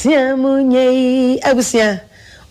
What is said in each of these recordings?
Abusua mu nyɛ yi abusua.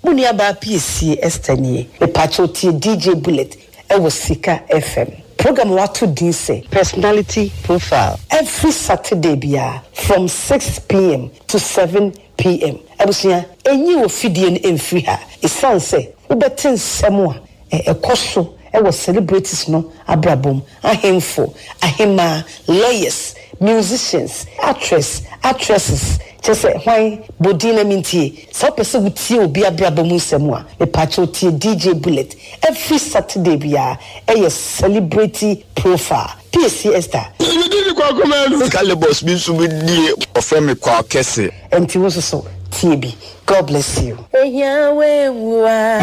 Mo nua baa Piesie Esther nie. Mepakyɛw tie DJ Bullet ɛwɔ Sika FM. Program a wato din sɛ. Personality Profile every Saturday biara from 6pm to 7pm. Abusua, enyi wo fidie no mfiri ha esiane sɛ wobɛte nsɛm a ɛkɔ so wɔ celebrities no abrabɔ mu, ahemfo, ahemmaa, lawyers, musicians, actress, actresses, kyerɛ sɛ hwan? Bɔ din na mentie. Sɛ wopɛ sɛ wotie obi abrabɔ mu nsɛm a, mepaakyɛw tie DJ Bullet every Saturday biara, ɛyɛ Celebrity Profile. Piesie Esther. Me din de Kwaku Manu. Calibos bi nso bɛdie. Wɔfrɛ me Kwaw Kɛse. Ɛnti wo nso so tie bi. God bless you. Ehia wenwu a.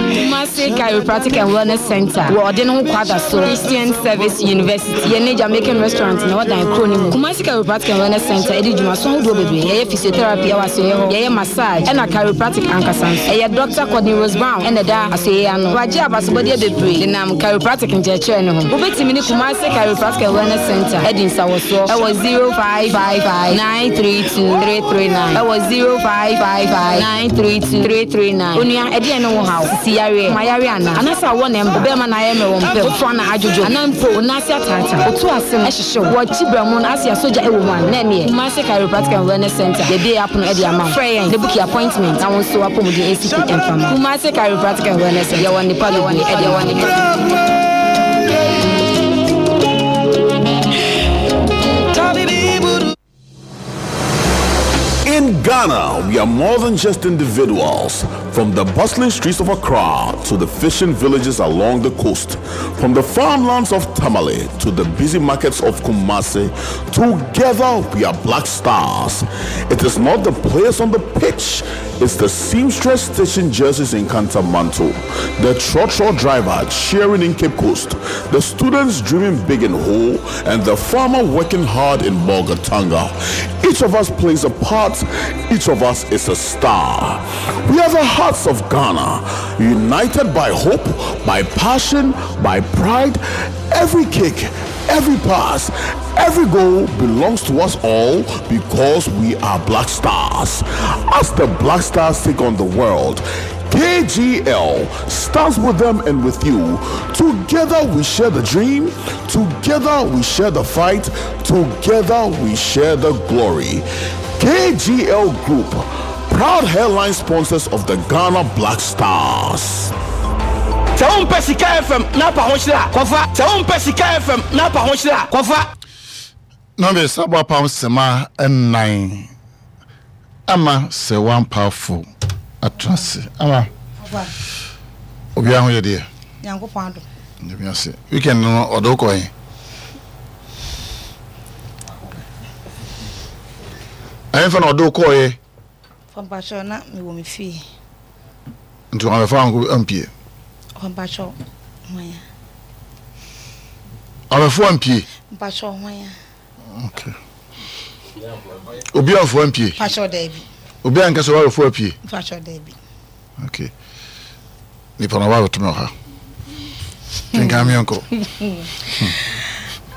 Kumasi Chiropractic and Wellness Center wɔ ɔde ne ho kwada so Christian Service University yɛ ne Jamaican restaurant na ɔdan kuro no mu. Kumasi Chiropractic and Wellness Center ɛdi dwumaso ahodoɔ bebree. Yɛyɛ physiotherapy ɛwɔ asoɛeɛ hɔ, yɛyɛ massage ɛna chiropractic ankasa nso. Ɛyɛ Doctor Courtney Rose Brown ɛna ɛda asoɛeɛ ano. Wagye abasobɔdeɛ bebree denam chiropractic nkyerɛkyerɛ no ho. Wobɛtumi ne Kumasi Chiropractic and Wellness Center adi nsawɔsoɔ ɛwɔ 0555 932 339 ɛwɔ 0555 932 339. Onua, ɛdeɛn ne wo haw? Sisi yareɛ, koma yareɛ anaa? Anaasɛ awɔ na ɛmba? Wo bɛɛma na ayɛ mmerɛ wɔ mpam, wo foa na adwodwo, anaa mpo wo nan ase ataataa, wo to ase no ɛhyehye wo, wɔ kyi berɛmo no ase a sogya ɛwɔ mu anaa? Na ɛneɛ, Kumasi Chiropractic and Wellness Center, yɛabue yɛn apono ɛde ama wo. Frɛ yɛn na buki appointment na wo nso w'apɔmuden ɛnsi pi ɛmfa mma wo. Kumasi Chiropractic and Wellness Center, yɛwɔ nnepa bebree ɛde ma wo. In Ghana, we are more than just individuals. From the bustling streets of Accra to the fishing villages along the coast, from the farmlands of Tamale to the busy markets of Kumasi, together we are Black Stars. It is not the players on the pitch, it's the seamstress stitching jerseys in Kantamanto, the trotro driver cheering in Cape Coast, the students dreaming big in Ho, and the farmer working hard in Bolgatanga. Each of us plays a part, each of us is a star. We are the hearts of Ghana, united by hope, by passion, by pride. Every kick, every pass, every goal belongs to us all because we are Black Stars. As the Black Stars take on the world, KGL stands with them and with you. Together we share the dream, together we share the fight, together we share the glory. KGL Group, proud headline sponsors of the Ghana Black Stars. Sɛ wompɛ Sika FM na apa ho hyerɛ a, kɔfa. Sɛ wompɛ Sika FM na apa ho hyerɛ a, kɔfa. Na me sa bɔ apam sema nnan ama sɛ wampafo atena ase ama obiara ho yɛ deɛ. Nyankopɔn adom. Nyame ase. Weekend no ɔde wokɔ he? Ɛhefa na ɔde wokɔɔyɛ? Mpakyɛw na mewɔ me fie. Nti wɔamɛfa wo ankɔ ampie? Mpakyɛw hwan a? Wɔamɛfa wo ampie? Mpakyɛw hwan a? Okay. Obi amfa wo ampie? Mpakyɛw daabi. Obi anka sɛ wɔabɛfa wo apue? Mpakyɛw daabi. Okay. Nipa na ɔba abɛto me wɔ ha. Kenkan me nkɔ.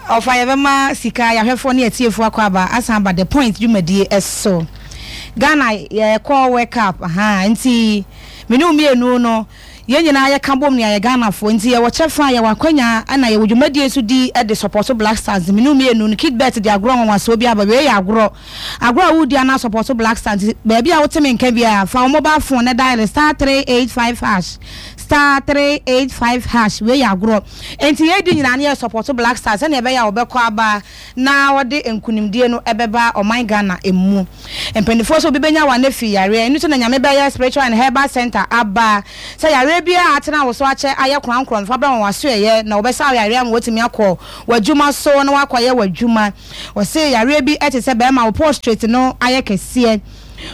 Ɔfa yɛbɛma sika yɛahwɛfoɔ ne atiefoɔ akɔ aba asan aba the point dwumadie so. Ghana yɛkɔ World Cup ahaa nti me ne wo mmienu no yɛn nyinaa yɛka bom nea yɛ Ghanafoɔ nti yɛwɔ kyɛfa yɛwɔ akwanya ɛna yɛwɔ dwumadie nso di de support Black Stars me ne wo mmienu no Kidbet de agorɔ nwanwasoɔ bi aba wei yɛ agorɔ Agorɔ a woredi anaa sɔpɔto Black Star nti baabi a wote me nka biara fa wo mobile phone na dial *385 hash *385 hash wei yɛ agorɔ nti yɛredi nyinaa no yɛ sɔpɔto Black Star sɛnea ɛbɛyɛ a wɔbɛkɔ aba na wɔde nkunimdie no ɛbɛba ɔman Ghana mu. Mpanimfoɔ sɛ obi bɛnya wɔn afi yareɛ ɛno nti na Nyame bɛyɛ Spiritual and Herbal Center aba sɛ yareɛ biara a atena wo so akyɛ ayɛ korankorɔ no fa bra wɔn asoɛeɛ na wɔbɛsa wo yareɛ ama woatumi akɔ w'adwuma so na woakɔyɛ w'adwuma. Wɔse yareɛ bi te sɛ bɛrima wo prostrate no ayɛ kɛseɛ,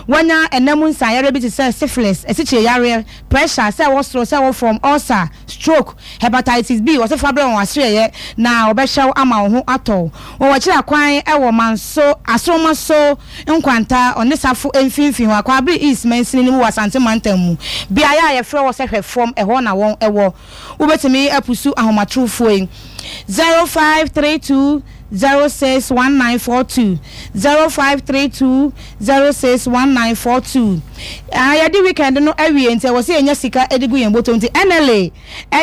wanya ɛna mu nsan yareɛ bi te sɛ syphilis, asikyire yareɛ, pressure, sɛ ɛwɔ soro, sɛ ɛwɔ fam, ulcer, stroke, hepatitis B, wɔse fa brɛ wɔn asoɛeɛ na wɔbɛhwɛ wo ama wo ho atɔ wo. Wɔwɔ akyiri akwan wɔ Manso, Asoroma so Nkwanta, Ɔnesafo mfimfini hɔ, Akwabere East mansini no mu wɔ Asante mantam mu. Beaeɛ a yɛfrɛ hɔ sɛ Hwɛfam, ɛhɔ na wɔn wɔ. Wobɛtumi apusu ahomatorofoɔ yi, 0532. 06 1942, 0532 06 1942. Ah, yɛde weekend no awie nti ɛwɔ sɛ yɛnya sika de gu yɛn bɔtɔ nti NLA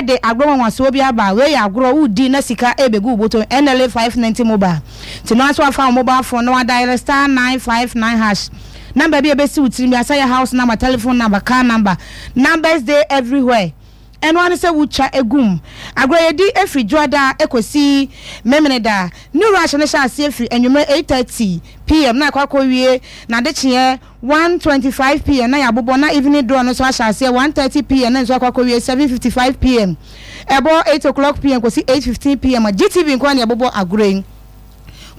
de agorɔ nwanwasoɔ bi aba. Wei yɛ agorɔ, wodi na sika rebɛgu wo bɔtɔ mu, NLA 590 mobile. Nti no ara nso wafa wo mobile phone na wadial star 959 hash. Number bi a ɛbɛsi wo tirim bi asɛ yɛ house number, telephone number, car number, numbers dey everywhere. Ɛno ara ne sɛ wotwa gu mu. Agorɔ a yɛdi firi Dwoada kɔsi Memeneda. New Rush no hyɛ aseɛ firi anwummerɛ 8:30 PM na akɔ akɔwie n'adekyeɛ 1:25 PM na yɛabobɔ na evening draw no nso ahyɛ aseɛ 1:30 PM na nso akɔ akɔwie 7:55 PM. Ɛbɔ 8 o'clock PM kɔsi 8:15 PM a GTV nko ara na yɛbobɔ agorɔ yi.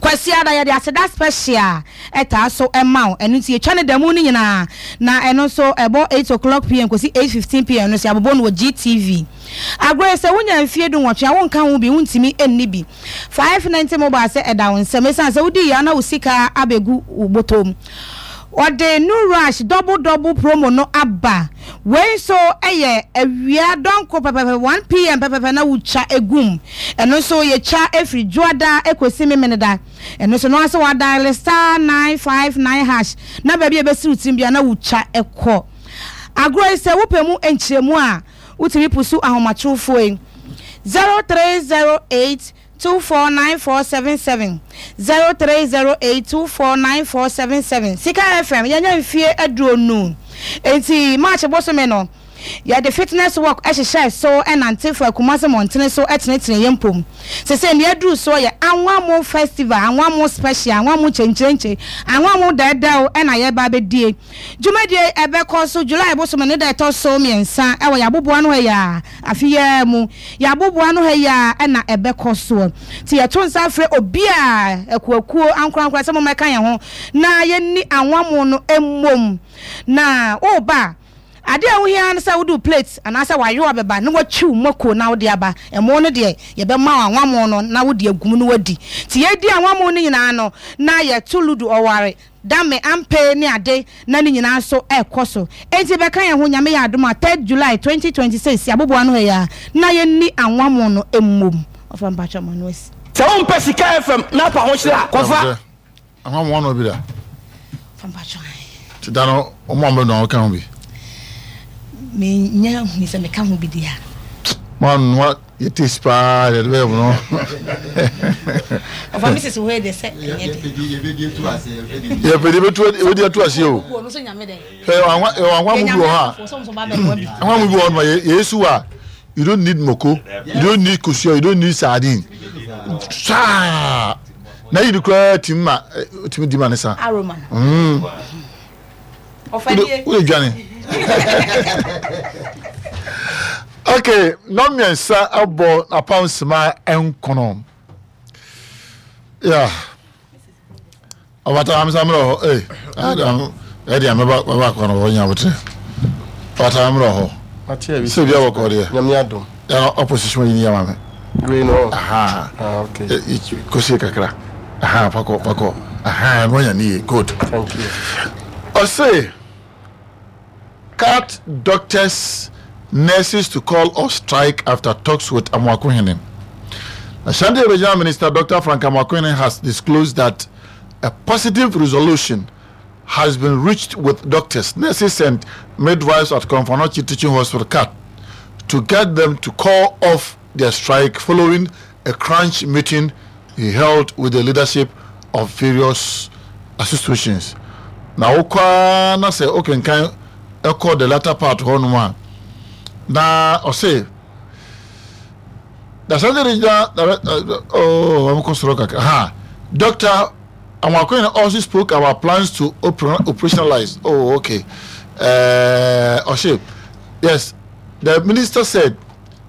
Kwasiada yɛde aseda special taa so ma wo, ɛno nti yɛtwa no da mu no nyinaa, na ɛno nso ɛbɔ 8:00 pm kɔsi 8:15 pm no nso yɛabobɔ no wɔ GTV. Agorɔ yi sɛ wonya mfie dunwɔtwe a wonka ho bi, wontumi nni bi. 590 mobile sɛ ɛda wo nsam, ɛsiane sɛ wodi yɛ a na wo sika abɛgu wo bɔtɔ mu. Wɔde New Rush double double promo no aba. Wei nso yɛ awia dɔnko pɛpɛpɛ 1 pm pɛpɛpɛ na wotwa gu mu. Ɛno nso yɛtwa firi Dwoada kɔsi Memeneda. Ɛno nso no ara sɛ wadiale star 959 hash na baabi a ɛbɛsi wo tirim biara na wotwa kɔ. Agorɔ yi sɛ wopɛ mu nkyerɛmu a wotumi pusu ahomatorofoɔ yi 0308 249477 0308 249477 Sika FM yɛanya mfie aduonu enti March bosome no yɛde fitness walk hyehyɛɛ so nante faa Kumasi mmɔntene so tenetene yɛn mpom. Sesei nea aduru soɔ yɛ Anwammo Festival, Anwammo Special, Anwammo Kyenkyerenkye, Anwammo Dɛɛdɛw na yɛreba abɛdie. Dwumadie yi ɛbɛkɔ so July bosome ne da ɛtɔ so mmiɛnsa wɔ yɛn aboboano ha yi ara, afe yi ara mu, yɛn aboboano ha yi ara na ɛbɛkɔ soɔ. Nti yɛto nsa frɛ obiara, akuakuo, ankorankora sɛ mommɛka yɛn ho na yɛnni anwammo no mmom. Na woreba a, adeɛ a ɛho hia ara ne sɛ wode wo plate anaasɛ w'ayowa bɛba na woatwi wo mako na wode aba. Ɛmo no deɛ yɛbɛma wo anwammo no na wode agu mu na woadi. Nti yɛredi anwammo no nyinaa no na yɛto ludo ɔware Dame Ampey ne ade na ne nyinaa nso ɛkɔ so. Enti bɛka yɛn ho Nyame yɛ adom a third July 2026 yɛaboboa ano ha yi ara na yɛnni anwammo no mmom. Ɔfa mpakyɛw ma no asi. Sɛ wompɛ Sika FM na apa ho hyerɛ a, kɔfa. Anwammo ano bi da. Ɔfa mpakyɛw ae. Ti da no ɔmo a ɔmo bɛnoa wo ka ho bi. Me nya hui sɛ me ka ho bi deɛ a. Mo anoa yɛ taste paa yɛde bɛyɛ mo no. Ɔfa mi sisi hɔ yɛ deɛ sɛ ɛnyɛ de. Yɛpɛ deɛ yɛbɛdi ato aseɛ o. Hwɛ yɛwɔ anwa yɛwɔ anwa mu bi wɔ hɔ a anwa mu bi wɔ hɔ no yɛ yɛsu a you don't need moko you don't need kosua you don't need sardine saa na yi ni koraa tumi ma tumi di ma ne sa. Aroma. Mm. Wode dwane. Okay, nnɔn mmiɛnsa abɔ apam sima nkono. Yeah. Ɔbata amsa mmerɛ hɔ. Ee, adam ɛde a mɛba mɛba akɔ no hɔ nya abotrɛ. Ɔbata mmerɛ hɔ. Sɛ bi abɔkɔ deɛ. Nyame adom. Yana opposition yi ni ama me. Wei no. Aha. Ah, okay. Kɔsie kakra. Aha, fakɔ fakɔ. Aha, no anya ne yie. Good. Thank you. Ɔse. Cut doctors, nurses to call off strike after talks with Amoakohene. Ashanti Regional Minister Dr. Frank Amoakohene has disclosed that a positive resolution has been reached with doctors, nurses, and midwives at Komfo Anokye Teaching Hospital, CAT, to get them to call off their strike following a crunch meeting he held with the leadership of various associations. Na wokɔ ara na sɛ wokenkan ɛkɔ the latter part hɔnom a, na ɔse the Ashanti Regional oh, wɔn kɔ soro kakra ha Doctor Amoakohene also spoke about plans to operationalize oh okay uh, ɔse yes the minister said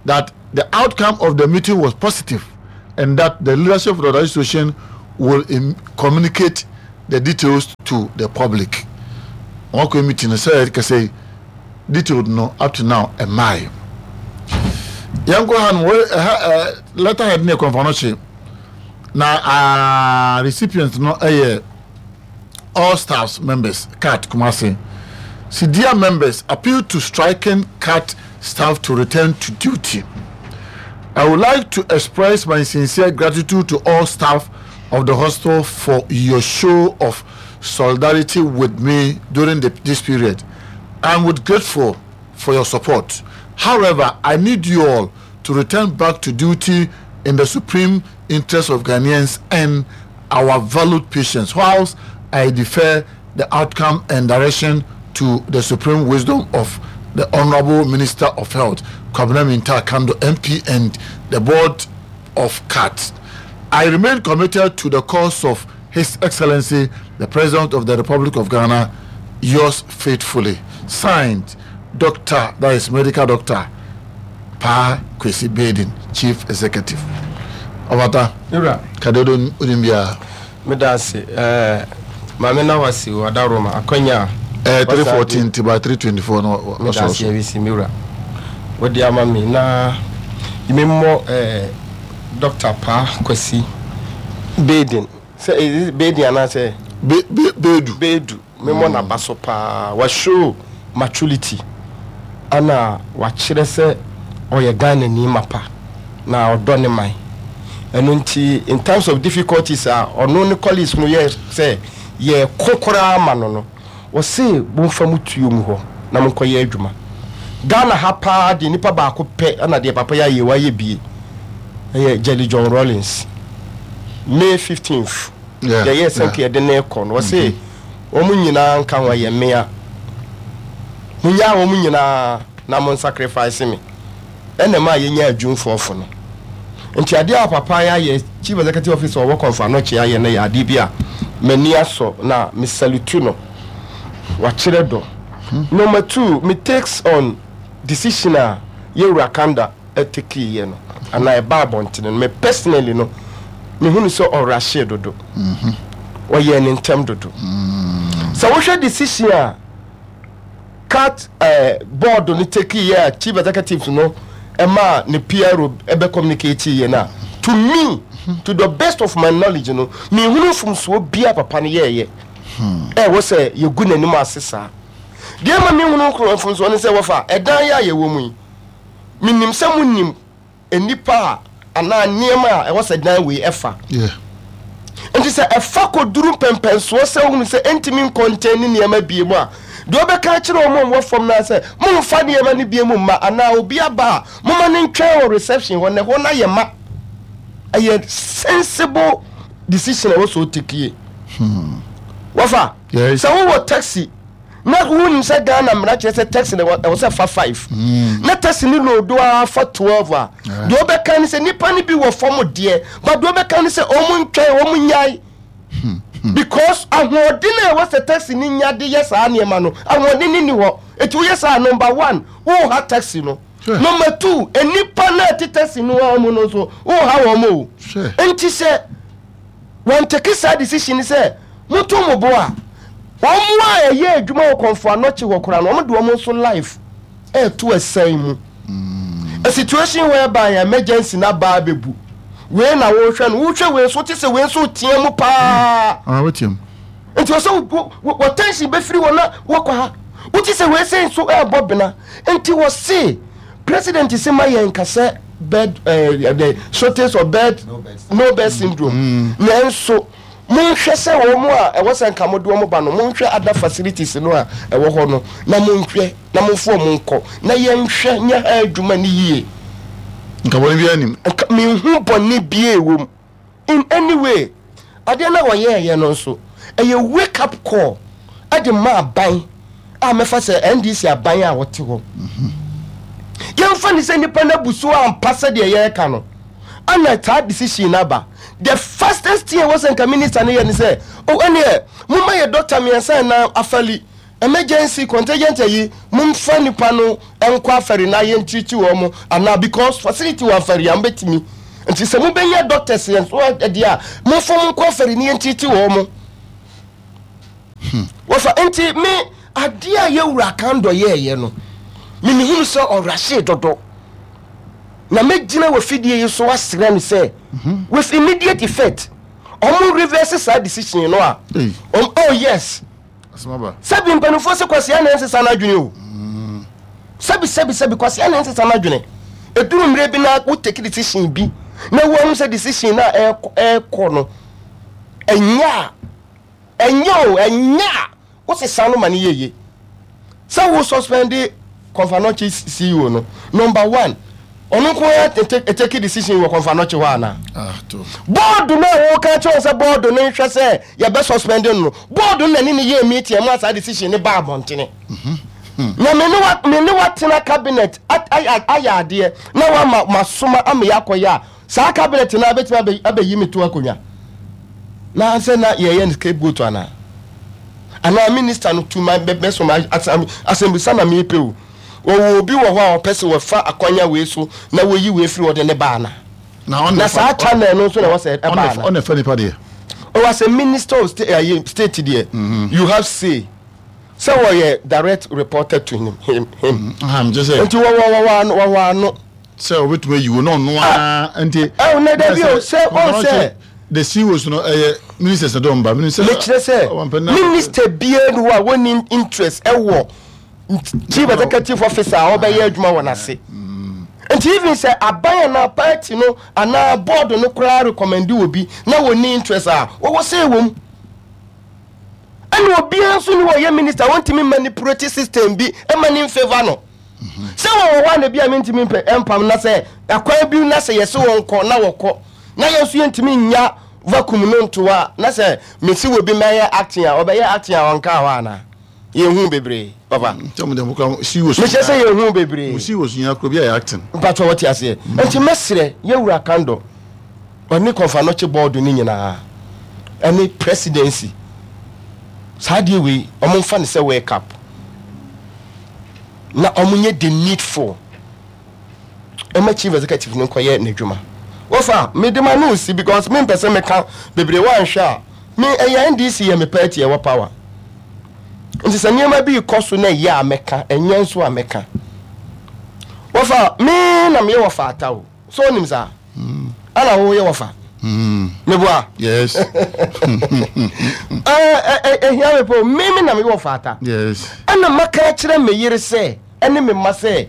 that the outcome of the meeting was positive and that the leadership of the association will communicate the details to the public. Wɔn akɔ meeting no sɛ kɛsɛ detailed no up to now ɛmaae. Yɛn kɔ ha no wɔ ɛha ɛ letterhead ne kɔnfa no kye na aa recipient no ɛyɛ all staffs members CAT Kumasi. Sidia members appeal to striking CAT staff to return to duty. I would like to express my sincere gratitude to all staff of the hospital for your show of solidarity with me during the, this period. I'm with grateful for your support. However, I need you all to return back to duty in the supreme interest of Ghanaians and our valued patients, whilst I defer the outcome and direction to the supreme wisdom of the Honorable Minister of Health, Kwabena Mintah Akandoh, MP, and the Board of CAT. I remain committed to the cause of His Excellency, the President of the Republic of Ghana, yours faithfully. Signed, Doctor, that is medical doctor, Pa Kwesi Baiden, Chief Executive. Ɔbata, kadodo onim biara. Meda ase eh, Maame na wase o Adaworoma akwanya a. Eh, 314 nti by 324 no wasɔrɔ so. Meda ase awisi me wura. Wode ama me na me mmɔ eh, Doctor Paa Kwasi Baiden sɛ is it Baiden anaasɛ? Be, be, Bedu. Bedu. Me mmɔ n'aba so paa. Wa show maturity ɛna wakyerɛ sɛ ɔyɛ Ghanani mapa na ɔdɔ ne man. Ɛno nti in times of difficulties a ɔno ne colleagues no yɛɛ sɛ yɛreko koraa ma no no, ɔse momfa mo tuo ngu hɔ na monkɔyɛ adwuma. Ghana ha paa deɛ nipa baako pɛ ɛna deɛ papa yi ayɛ wayɛ bie ɛyɛ Jelly John Rawlings. May 15th yɛyɛɛ sɛ nka yɛde no rekɔ no, ɔse wɔn nyinaa nka ho ɛyɛ mmea. Monyaa wɔn nyinaa na mon sacrifice me. Ɛna ɛmaa yɛnyaa adwumfoɔfo no. Nti adeɛ a papa yi ayɛ, Chief Executive Officer ɔwɔ Komfo Anokye ayɛ no yɛ adeɛ bi a m'ani asɔ na me salute no. Wakyerɛ dɔ. Number two, me takes on decision a yɛwura Kanda tekeeɛ no anaa ɛbaa abɔntene no, me personally no, mehunu sɛ ɔrashee dodo. Ɔyɛɛ ne ntɛm dodo. Sɛ wohwɛ decision a CAT eh, board no tekeeɛ a chief executive no ɛmaa ne PRO ɛbɛ communicate yɛ no a, to me, to the best of my knowledge no, menhunu mfomsoɔ biara papa no yɛɛyɛ ɛwɔ sɛ yɛgu n'anim ase saa. Deɛ ɛma menhunu mfomsoɔ ne sɛ wɔfa ɛdan yɛ a yɛwɔ mu yi, Menim sɛ monim nnipa a anaa nneɛma a ɛwɔ sɛ dan wei ɛfa. Nti sɛ ɛfa kɔduru mpɛmpɛnsoɔ sɛ wohunu sɛ ɛntumi nkɔntɛn ne nneɛma bie mu a, deɛ wobɛka akyerɛ wɔn a wɔwɔ fam no ara sɛ momfa nneɛma no bie mu mma anaa obi aba a momma no ntwɛn wɔ reception hɔ na ɛhɔ no ayɛ ma. Ɛyɛ sensible decision a ɛwɔ sɛ ɔtekie. Wɔfa sɛ wowɔ taxi na wonim sɛ Ghana mmara kyerɛ sɛ taxi no ɛwɔ sɛ fa five mm. na taxi no loodo ara fa twelve a deɛ ɔbɛka ne sɛ nipa no bi wɔ fam deɛ but deɛ ɔbɛka ne sɛ wɔn ntwɛn wɔn nyae hmm, hmm. because ahoɔden a ɛwɔ sɛ taxi no nya de yɛ saa nneɛma no ahoɔden no ni hɔ eti woyɛ saa number one woha taxi no number two nipa no a ɛte taxi no ara mu no nso woha wɔn o nti sɛ. Wɔn take saa decision no sɛ monto mo bo a, wɔn a ɛyɛ adwuma wɔ Kɔmfo Anɔkye hɔ koraa no, wɔn de wɔn nso life ɛreto ɛsɛn mu. A situation whereby emergency na ba abɛbu. Wei na wohwɛ no, wohwɛ wei nso, wote sɛ wei nso retea mu paa. Ah, woteam. Nti ɔsɛ wɔ tension bɛfiri hɔ na wɔkɔ ha. Wote sɛ wei sɛ nso ɛrebɔ bena. Nti wɔse President se ma yɛn nka sɛ bed eh, the shortage of bed no bed syndrome mm. nanso monhwɛ sɛ wɔn a ɛwɔ sɛ nka mode wɔn ba no monhwɛ other facilities no a ɛwɔ hɔ no na monhwɛ na momfo wɔn nkɔ na yɛnhwɛ nyɛ ha adwuma no yie. Nka bɔne biara nim. Nka menhu bɔne biara wɔ mu. In any way, adeɛ no a wɔyɛɛyɛ no nso, ɛyɛ wake up call de ma aban a mɛfa sɛ NDC aban a wɔte hɔ. Yɛmfa ne sɛ nnipa no abu so ampa sɛdeɛ yɛreka no, ana saa decision no aba. The fastest thing a ɛwɔ sɛ nka minister no yɛ ne sɛ, oh ɛneɛ momma yɛ doctor mmiɛnsa anaa afali Emergency contingent ayi momfa nipa no nkɔ afɛri na yɛn treat wɔn anaa because facility wɔ afɛri a mobɛtumi nti sɛ mobɛnya doctors yɛn so deɛ a momfa wɔn nkɔ afɛri na yɛn treat wɔn wɔfa nti me adeɛ a yɛwura kandɔ yɛɛyɛ no me mehunu sɛ ɔrahyee dodo na mɛgyina wɔ fidie yi so asrɛ no sɛ with immediate effect ɔmo reverse saa decision no a oh yes Sɛbi mpanimfoɔ se kwasea na ɛnsesa n'adwene o. Sɛbi sɛbi sɛbi kwasea na ɛnsesa n'adwene. Ɛduru mmerɛ bi na wo take decision bi na woahu sɛ decision no a ɛrekɔ no. Ɛnyɛ a, ɛnyɛ o, ɛnyɛ a, wosesa no ma no yɛ yie. Sɛ wo suspend Komfo Anokye CEO no, number one, ɔno nko ara take decision wɔ Komfo Anokye hɔ anaa? Ah, to. Board no a wɔka kyerɛ wɔn sɛ board no nhwɛ sɛ yɛbɛ suspend no no, board no na ne ne yɛɛ meeting ɛma saa decision no baa abɔntene. Na me ne wa me ne watena cabinet ayɛ adeɛ na wama masoma ama yɛakɔyɛ a, saa cabinet no abɛtumi abɛ abɛyi me to akonnwa. Na sɛ na yɛyɛ no scapegoat anaa? Anaa minister no tu ma bɛsoma asɛm asɛmbisa na mepɛ o. Wɔwɔ obi wɔ hɔ a ɔpɛ sɛ wɔfa akwanya wei so na wɔyi wei firi hɔ de ne ba anaa? Na ɔno Na saa channel no nso na ɛwɔ sɛ ɛba anaa? ɔna ɛfa nipa deɛ. Oh, as a minister of state, state deɛ, you have say. Sɛ wɔyɛ direct reporter to him him him. Nti sɛ. Nti wɔwɔ wɔwɔ ano wɔwɔ ano. Sɛ obetumi ayi wo na ɔno ara nti. Ɛwɔ na dabi o sɛ ɔn sɛ. The CEOs no ɛyɛ ministers na dɔn ba. Mekyerɛ sɛ minister biara ni hɔ a wɔnni interest ɛwɔ chief executive officer a ɔbɛyɛ adwuma wɔ n'ase. Nti even sɛ aban anaa party no anaa board no koraa recommend obi na wɔnni interest a wɔwɔ say wɔ mu. Ɛna obiara nso ni hɔ ɔyɛ minister wɔntumi manipulate system bi ɛma ne nfavour no. Sɛ wɔwɔ hɔ a na bi a mentumi mpɛ ɛmpam na sɛ akwan bi na sɛ yɛse wɔn kɔ na wɔkɔ na yɛn nso yɛntumi nnya vacuum no nto hɔ a na sɛ mese wɔ bi mɛyɛ acting a ɔbɛyɛ acting a ɔnkaa hɔ anaa? Yɛhu bebree papa. Mehyɛ sɛ yɛhu bebree. Mpatwɔ wɔte aseɛ. Nti mɛsrɛ yɛwura Kandor ɔne Kɔmfanɔkye board no nyinaa ɛne presidency saa adeɛ wei ɔmo nfa no sɛ wake up na ɔmo nyɛ the needful ɛma chief executive no nkɔyɛ n'adwuma. Wɔfa mede ma no si because me mpɛ sɛ meka bebree wanhwɛ a me ɛyɛ NDC yɛ me party ɛwɔ power nti sɛ nneɛma bi kɔ so na ɛyɛ a mɛka ɛnyɛ nso a mɛka. Wɔfa me na meyɛ wɔfa ata o. So onim saa? Ana wo yɛ wɔfa? Meboa. Yes. Ehia me po. Me me na me wɔfa ata. Yes. Ɛna maka akyerɛ me yere sɛ ɛne me mma sɛ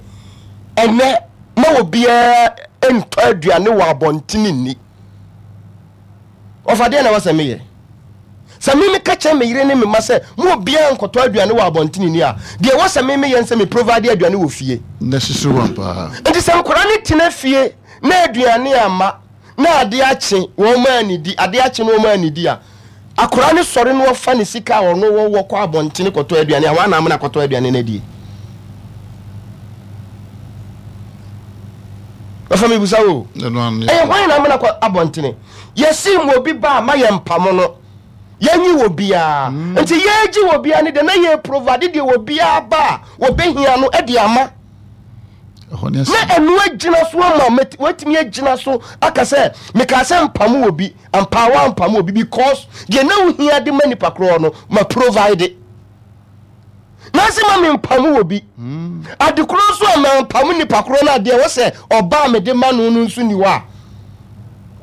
ɛnɛ ma obiara ntɔ aduane wɔ abɔntene nni. Ɔfa deɛ na ɛwɔ sɛ meyɛ. Sɛ me meka kyerɛ me yere ne me mma sɛ mo obiara nkɔtɔ aduane wɔ abɔntene ni a, deɛ ɛwɔ sɛ me meyɛ ne sɛ me provide aduane wɔ fie. Necessary one paa. Nti sɛ nkwadaa no tena fie na aduane amma na adeɛ akye wɔn annidi, adeɛ akye na wɔn annidi a, akwadaa no sɔre na ɔfa ne sika a ɔno wɔ kɔ abɔntene kɔtɔ aduane a, hwan na amena akɔtɔ aduane no adie? Ɔfa mebusa wo. Ɛyɛ hwan na amena kɔ abɔntene? Yɛse ma obi ba a ma yɛ mpamo no. Yɛnyi wɔ biara. Mm. Nti yɛgye wɔ biara ne deɛ na yɛ provide deɛ wɔ biara ba a wɔbɛhia no de ama. Na ɛno agyina so ama watumi agyina so aka sɛ mekaa sɛ mpamo wɔ bi ampaawa mpamo wɔ bi because deɛ na wohia de ma nipa korɔ no ma provide. Nansi ma mempam wɔ bi. Ade korɔ nso a mampam nipa korɔ no adeɛ wɔ sɛ ɔba a mede ma no no nso ni hɔ a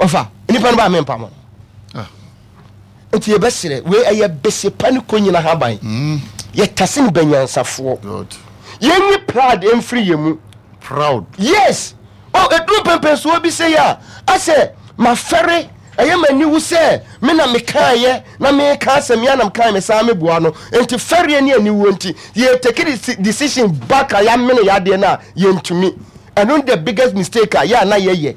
ɔfa nipa no ba a mempam no. Ah. Nti yɛbɛserɛ wei ɛyɛ bese pa ne konyina haban. Mm. Yɛtase no banyansafoɔ. Yɛnyi pride mfiri yɛn mu. Proud. Yes. Oh, ɛduru mpɛmpɛnsoɔ bi sei a, asɛ mafɛre, ɛyɛ m'aniwu sɛ me na mekaeɛ na meka asɛm yi a na mekaeɛ mesan meboa no. Nti fɛreɛ ne aniwuo nti, yɛ take decision back a yɛamene yɛadeɛ no a, yɛntumi. Ɛno ne the biggest mistake a yɛ a na yɛyɛ.